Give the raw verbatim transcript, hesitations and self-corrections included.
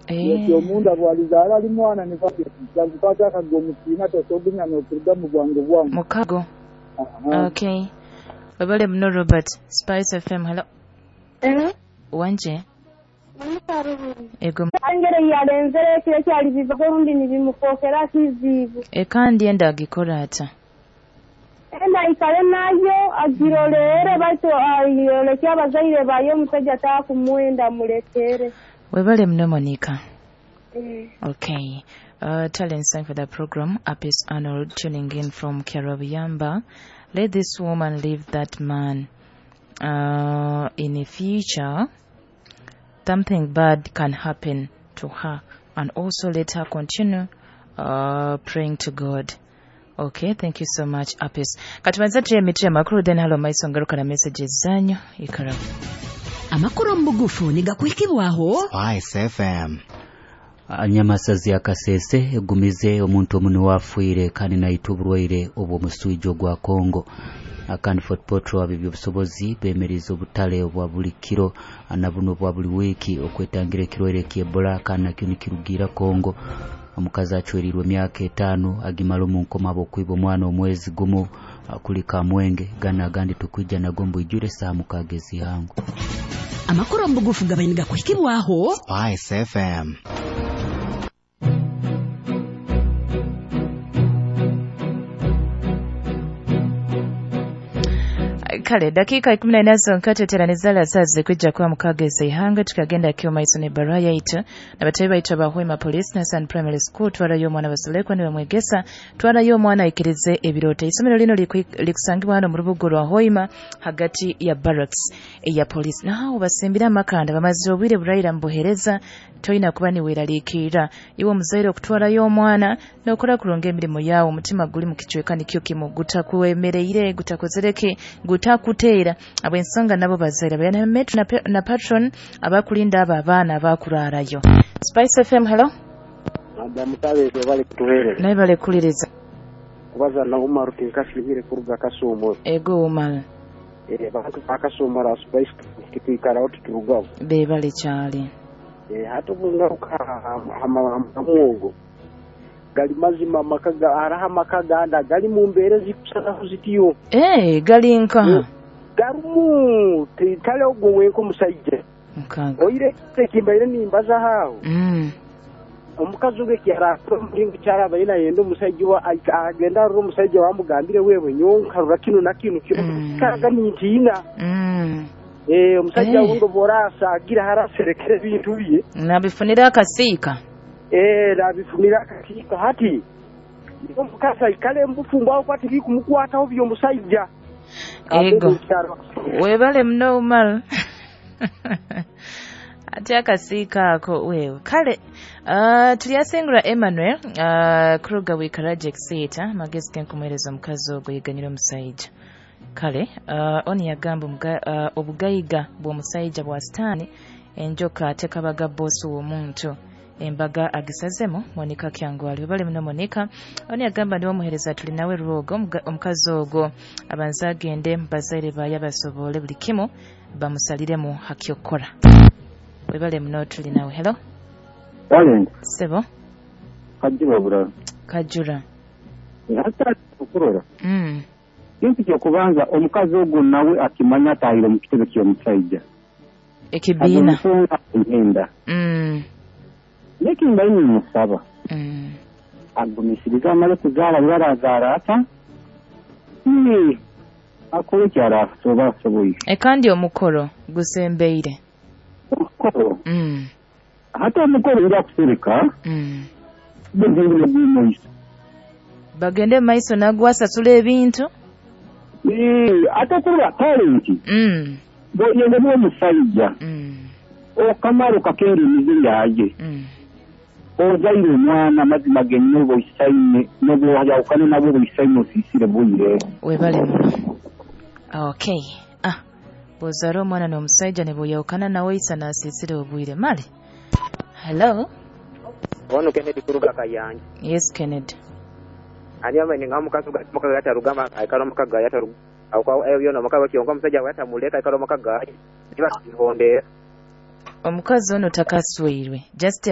Ekyo omunda bwalizaala ali mwana nibakwata akago omukiina tosogumya n'okuruga mu bwangu bwangu. Mukago. Okay. Webale muno Robert. Spice F M, hello. Hello. Wanje. Ego. Angere yalenzere ekiro kyali biva rundi nibimufokera kizibu. Ekandi enda agikora ata? Enda ikale nayo agirolere baitu ayoleke abazaire bayo omusajja takumwenda mulekere. Webale muno Monica. Mm. Okay. Uh, talent sign for the program. Apis Arnold tuning in from Kerabiyamba. Let this woman leave that man. Uh, in the future, something bad can happen to her, and also let her continue uh, praying to God. Okay, thank you so much, Apis. Katubanza tuye mitwe amakuru then halo maiso ngaruka na messages zanyu ikara. Amakuru mbugufu nigakwikibwaho Spice F M. Anyamasazi akasese egumize omuntu omunu wafuire kandi naitwa oburwaire obw'omusujja ogwa Kongo. Akandi Fort Portal ab'ebyobusobozi beemeriza obutale obwa buli kiro na buno obwa buli wiiki okwetangira ekirwaire ky'Ebola kandi nakyo nikirugiira Kongo. Omukazi acwerirwe emyaka etaano agimala omu nkoma ab'okwiba omwana omwezi gumu kuli Kamwenge gana agandi tukwija nago mbwijure saa mukaaga ez'ihangu. Amakuru mbugufu gabaye nigakwikibwaho Spice F M. Kale dakika ikumi na ina zonka teteranizala sazi kwijja kuba mukaaga ez'ihanga tukagenda kyo maiso ne barua yaitu na batayi baitu abahwema police na San Primary School twarayo omwana basolekwa ne bamwegesa twarayo omwana aikirize ebirooto. Isomero lino likusangibwa hano mu rubuga rwa Hoima hagati ya barracks eya police naho basimbira amakanda bamaze obwire burayira mbuhereza toyina kuba niweraliikirira iwe omuzaire okutwarayo omwana n'okola kurunga emirimo yawe omutima guli mu kicweka nikyo kimu gutakwemereire gutakozereke gutakuteera ab'ensonga nabo bazaire bayana metro na, na patron abakulinda abo abaana abakurarayo. Spice F M, hello. Madam Tabeze bali kutuhereza. Naye bali kuliriza. Kubaza na Umar tinkashimire kuruga Kasumo. Ego Umar. Eh bantu bakasumura Spice kitwikara otuturugaho. Be bali kyali. Eh hatu bungaruka amamwogo. Gali mazima makaga araha makaganda gali mu mbere zikusana zitiyo. Eh gali nka. Garumu titale ogwo wenko musajja. Nkaga. Oire tekimbaire nimbaza hawo. Mm. Omukazi oge kyara mulingo kyaraba ina yendo musajja wa agenda ro musajja wamugambire wewe nyonka rura kino na kino kino mm. Kaga nintina. Mm. Eh omusajja hey. Wundo borasa agira haraserekere bintu bye. Nabifunira akasiika. Eh nabifunira akasiika hati. Omukasa ikale mbufumbo aho kwati bikumukwataho byo musajja. Ego. Webale mno Umar. Ati akasiika ako wewe. Kale uh, tulyasengura Emmanuel uh, Kruger wikaraje kisita magezi kenkumwereza omukazi ogwo yiganyira omusajja. Kale uh, oni yagamba uh, obugayiga bw'omusajja bwa sitaani enjoka tekabaga bosi w'omuntu embaga agisazemu Monica Kyangwali. Webale muno Monica. Oni yagamba ndi omuhereza tuli nawe rwogo omukazi ogwo abanza agende bazaire baye basobole buli kimu bamusaliremu hakyokora. Webale muno tuli nawe. Hello. Talent. Sebo. Kajura bura. Kajura. Hata okurora. Mm. Kintu kyokubanza omukazi ogwo nawe akimanya atahire mu kitebe ky'omusajja. Ekibiina. Ngenda. Mm. Nekimba ini musaba. Mm. Agumisiriza amale kuzaala barazaara ata. Mm. Akole kyara soba soboyi. Ekandi omukoro gusembeire. Omukoro. Mm. Hata omukoro nja kusereka. Mm. Bagende maiso. Bagende maiso nagwasasula ebintu. Eh, ate kurwa talent. Mm. Bo yende omusajja. Mm. Okamaro kakera emize yaje. Mm. Ozaire omwana mazima genno boyisaine n'obwayawukane nabo boyisaine osisire buyire. Webale muno. Okay. Ah. Bozaro omwana n'omusajja ne bweyawukana nawe isa n'asisire obwire. Male. Hello. Ono Kennedy kuruga Kayanja. Yes Kennedy. Ani amene ngamukazi mukaga yatarugama aikalo mukaga yataruga akwa ebyo no mukaga kyonka omusajja yatamuleka aikalo mukaga niba kihondera. Omukazi ono takaswirwe. Just